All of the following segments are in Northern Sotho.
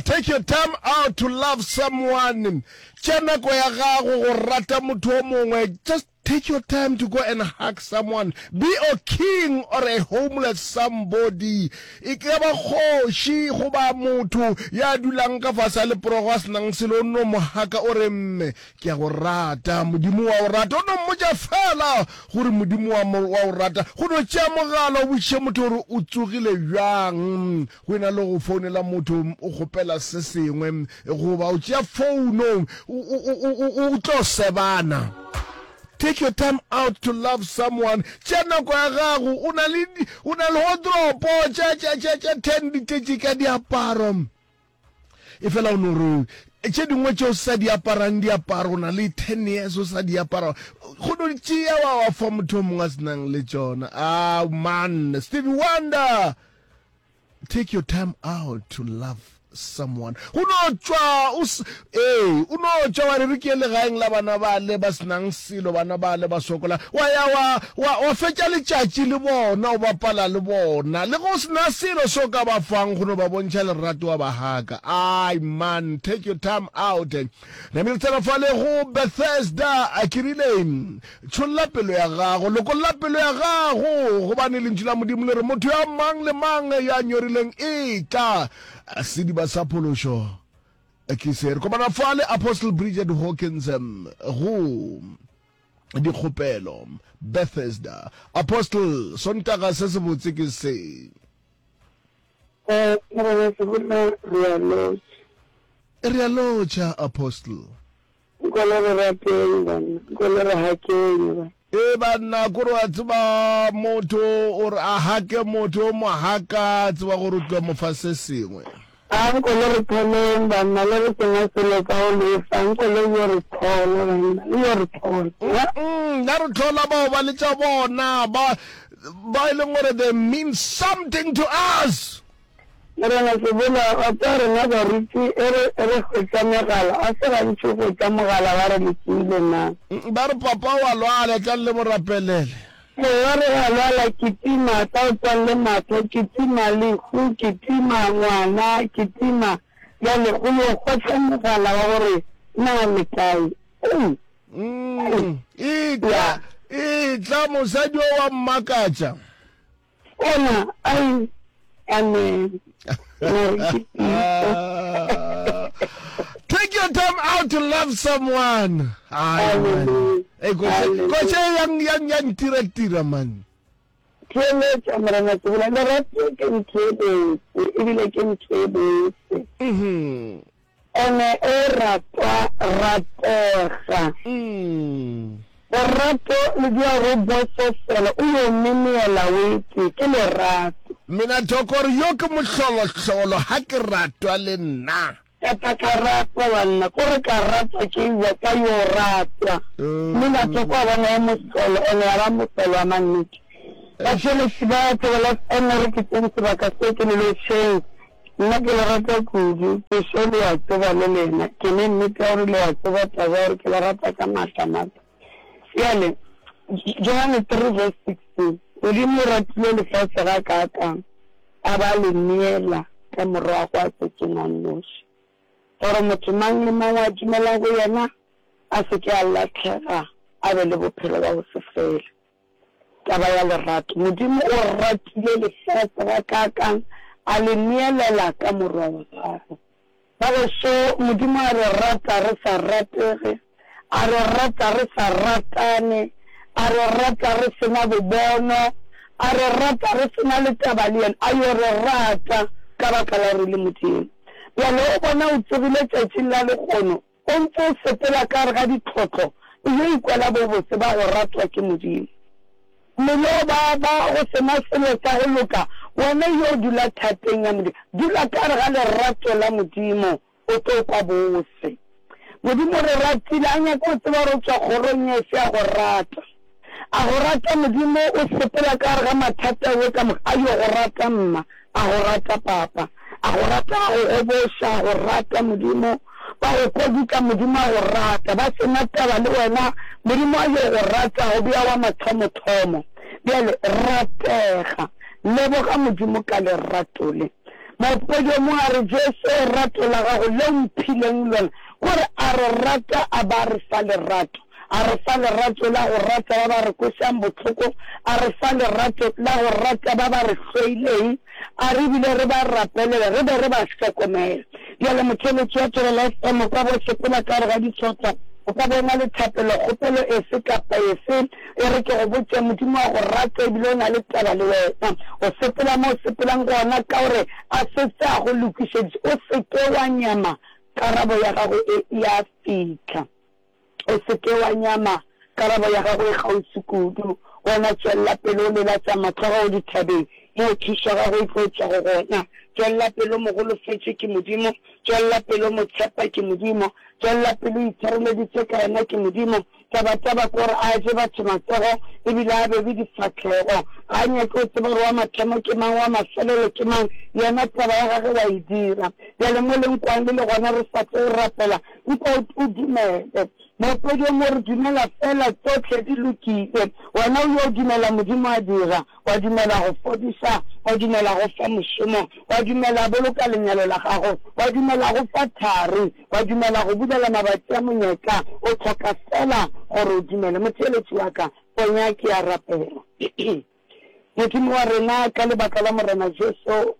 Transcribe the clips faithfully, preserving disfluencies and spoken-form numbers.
Take your time out to love someone. Tšea nako ya gago go rata motho o mongwe. Just take your time to go and hug someone. Be a king or a homeless somebody. E ka ba kgoši goba motho ya dulang ka fase a leporogo a senang selo, o nno mo haka o re mme ke a go rata, Modimo wa o rata. O no mmotša fela gore Modimo wa mo wa o rata. Go no tšea mogala o botšiše motho gore o tsogile bjang, go ena le go founela motho o kgopela se sengwe, goba o tšea founo o tlo sebana. Take your time out to love someone. Tšea nako ya gago, o na le o na le wardrobe tša tša tša tša ten di tletše ka diaparo. E fela o no re tše dingwe tše o sa di aparang diaparo, o na le ten years o sa di apara, go no di tšea wa wa fa motho o mongwe a senang le tšona. Ah man, Stevie Wonder, take your time out to love someone. Go no tšwa o ee, o no tšwa wa re re ke legaeng la bana bale ba senang selo, bana bale ba sokola, wa ya wa wa wa fetša letšatši le bona, o bapala le bona, le go sena selo se o ka ba fang, go no ba bontšha lerato wa ba haka. Ai man, take your time out. Namile tsena fale go Bethesda, a ke rile tšholla pelo ya gago, lokolla pelo ya gago, gobane lentšu la Modimo le re motho ya mang le mang ya nyorileng e tla sediba sa phološo ke se. Re kopana fale Apostle Bridget Hawkins go dikgopelo Bethesda. Apostle, Sontaga se sebotse ke se. Eh, Morena Sebola, re a lotšha. Re a lotšha, Apostle. Nkole re rateng banna, nkole re hakeng ba. E banna, kore wa tseba motho o re a hake motho o mo haka, tseba gore o tlo mo fa se sengwe. A nkole re tholeng banna, le re sena selo ka go lefa, nkole yo re thola banna, le yo re thola. Mm, ya re thola bao ba le tša bona, ba ba e leng gore they mean something to us. Morena Sebola, wa tseba rena baruti e re e re hwetša megala, a se gantši go hwetša mogala ba re le tsoile na. Ba re papa wa lwala, tlang le mo rapelele. Ee, ba re wa lwala, kitima, tla o tswalle mahlo, kitima lehu, kitima ngwana, kitima. Bjale go yo hwetša mogala wa gore na le kae. Ei. Mm, e tla, e tla mosadi o wa mmakatša. Ona, ai, amen. Take your time out to love someone. Ai, man. Hey, koše yang yang yang tira tira man. Theeletša Morena Sebola, lerato ke ntho e botse ebile ke ntho e bose. Mhm. Ene o ratwa ratega. Mm. Lerato le dia go bososela, o yo memeela o ete, ke lerato. Mina Thoko re yo ke mohlolohlolo, ha ke ratwa le nna. Ka tla ka ratwa banna, ko re ka ratwa ke ewa ka yo ratwa. Mina Thoko a bona e mohlolo, ene ya ba mohlolo wa mannete. Batheeletši ba Thobela F M re ke tseng sebaka se ke le lotšheng. Nna ke le rata kudu, ke šo le a tseba le lena, ke ne nnete ya gore le a tseba taba ya gore ke le rata ka maatla maatla. Bjale, Johane three verse sixteen, Modimo o ratile lefase ga kaakang, a ba le neela ka Morwa wa tswetšweng a nnoši, gore motho mang le mang wa dumelang go yena a se ke a lahlega, a be le bophelo bja go se fele. Taba ya lerato. Modimo o ratile lefase gakaakang, a le neelela ka Morwa wa gagwe. Ba gešo, Modimo a re rata re sa ratege, a re rata re sa ratane, a re rata re se na bobono, a re rata re se na le taba le yena, a yo re rata ka baka la gore le Modimo. Bjale o bona o tsogile tšatšing la lehono, o ntse o sepela ka gare ga ditlhotlo, o yo ikwela bobotse ba go ratwa ke Modimo. Mmele o baba, go se na selo sa go loka, wena yo dula thateng ya Modimo. Dula ka gare ga lerato la Modimo, o tlo kwa bose. Modimo o re ratile, a nyake go tseba gore o tšwa kgorong efe ya go rata. A go rata Modimo, o sepela ka gare ga mathata we ka moka, a yo go rata mma, a go rata papa, a go rata a go goboša, a go rata Modimo, ba go kodutla Modimo a go rata, ba sena taba le wena, Modimo a yo go rata, go bea wa mathomothomo. Bjale ratega, leboga Modimo ka lerato le. Moopedi o mongwe a re, Jesu, rato la gago le o mphileng lona, kore a re rata a ba a re fa lerato. A re fa lerato la go rata ba ba re kwešang bohloko, a re fa lerato la go rata ba ba re hloileng, a re bile re ba rapelele re be re ba hlokomele. Bjale motheeletši wa Thobela F M o ka bo sepela ka gare ga dihlotla, o ka bo na le thapelo, kgopelo efe kapa efe, e re ke go botše, Modimo wa go rata ebile o na le taba le wena. O sepela mo o sepelang gona ka gore a setse a go lokišeditše. O se ke wa nyama, karabo ya gago e ya fihla. O se ke wa nyama, karabo ya gago e kgauswi kudu. Wena tšwelela pele o lelatša mahlo a gago dithabeng, moo thušo ya gago e tlo tšwago gona. Tšwelela pele o mo golofetše ke Modimo, tšwelela pele o mo tshepa ke Modimo, tšwelela pele o itshwareleditše ka yena ke Modimo. Tabataba ke gore a je batho matsogo e bile a bebe difahlego. Ga a nyake go tseba gore wa mathomo ke mang, wa mafelelo ke mang, yena taba ya gagwe wa e dira. Bjale mo le nkwang le le gona re sa tlo rapela, mpa o dumele. Moopedi o mo re dumela fela tsohle di lokile. Wena o yo dumela Modimo a dira, wa dumela go fodiša, wa dumela go fa mošomo, wa dumela boloka lenyalo la gago, wa dumela go fa thari, wa dumela go bulela mabatsi a monyetla. O hloka fela gore o dumele. Motheeletši wa ka, ponya ke a rapela. Modimo wa rena, ka lebaka la Morena Jesu,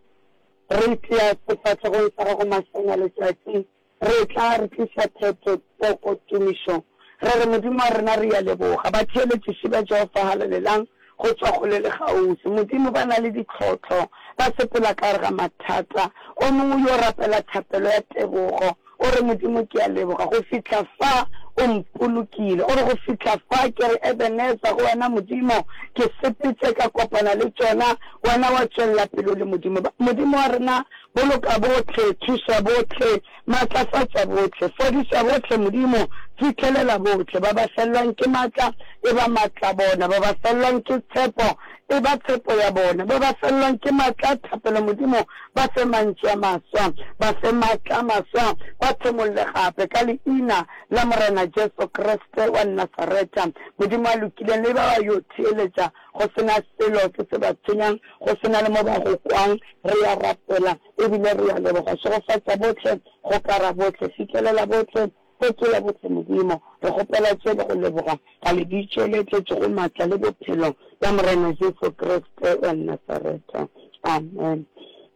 re tia sefahlegong sa gago mašana letšatši. Re tla re tliša theto, poko, tumišo. Re re, Modimo wa rena, re a leboga. Batheeletšiši ba Jehofa halalelang go tšwa kgole le kgauswi. Modimo, ba na le ditlhohlo, ba sepela ka gare ga mathata. O mongwe yo rapela thapelo ya tebogo, o re, Modimo, ke a leboga go fihla fa o mpolokile. O re, go fihla fa ke re, Ebenezer, go wena Modimo, ke sepetše ka kopana le tšona, wena wa tšwelela pele o le Modimo. Modimo wa rena, boloka bohle, thuša bohle, matlafatša bohle, fodiša bohle, Modimo, fihlelela bohle. Ba ba felelwang ke matla, e ba matla bona. Ba ba felelwang ke tshepo, e ba tshepo ya bona. Ba ba felelwang ke matla a thapelo, Modimo, ba fe mantšu a maswa, ba fe matla a maswa, ba thomolle gape, ka leina la Morena Jesu Kriste wa Nasaretha. Modimo a lokileng, le ba ba yo theeletša go se na selo se se ba tshwenyang, go se na le mo ba go kwang, re ya rapela ebile re ya leboga. Šegofatša bohle, gokara bohle, fihlelela bohle, fetola bohle, Modimo. Re kgopela tše le go leboga ka lebitso le tletšego matla le bophelo la Morena Jesu Kriste wa Nasaretha. Amen.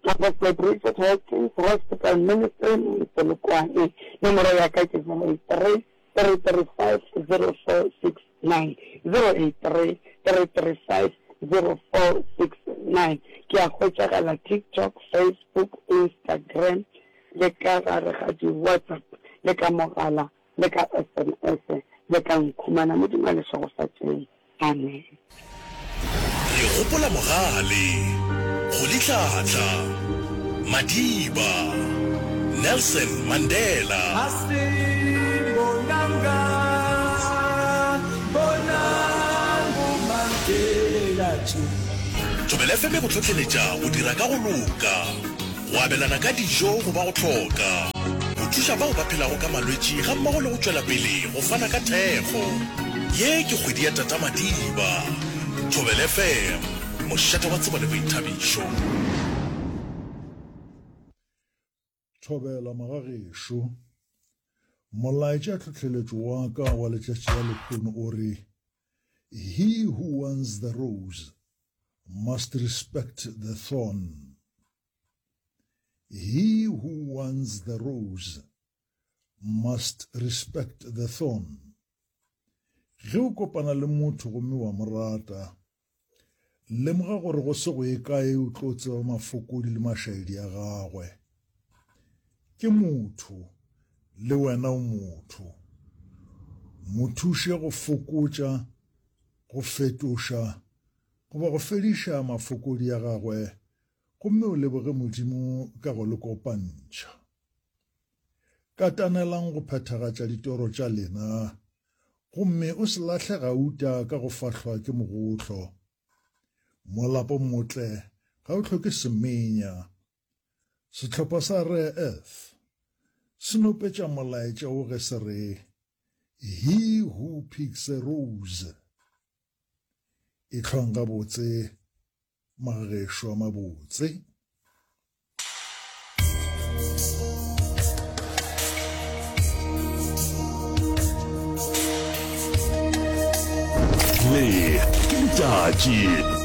Apostle Bridget Hawkins, Hospital Ministry, Polokwane. Nomoro ya ka ke zero eight three, three three five, zero four six nine, zero eight three, three three five, zero four six nine. Ke a hwetšagala TikTok, Facebook, Instagram, le ka gare ga di-WhatsApp, le ka mogala, le ka S M S, le ka nkhumana. Modimo a le šegofatšeng. Amen. Re gopola Mogale, Rolihlahla, Madiba, Nelson Mandela. Thobela F M e go hlohleletša go dira ka go loka, go abelana ka dijo go ba go hloka, go thuša bao ba phelago ka malwetši gammogo le go tšwela pele go fana ka thekgo. Ye ke kgwedi ya Tata Madiba. Thobela F M, mošate wa tsebo le boithabišo. Thobela magagešo. Molaetša tlhohleletšo wa ka wa letšatši la lehono o re, He who wants the rose must respect the thorn. He who wants the rose must respect the thorn. Ge o kopana le motho gomme wa mo rata, lemoga gore go se go ye kae o tlo tseba mafokodi le mašaedi a gagwe. Ke motho, le wena o motho. Mo thuše go fokotša, go fetoša, goba go fediša mafokodi a gagwe, gomme o leboge Modimo ka go le kopantšha. Katanelang go phethagatša ditoro tša lena, gomme o se lahle gauta ka go fahlwa ke mogohlo. Molapo motle ga o hloke semenya. Sehlopha sa Rare Earth se nopetša molaetša wo ge se re, He who picks a rose. Ehlwang gabotse, magagešo a mabotse. Le ke letšatši.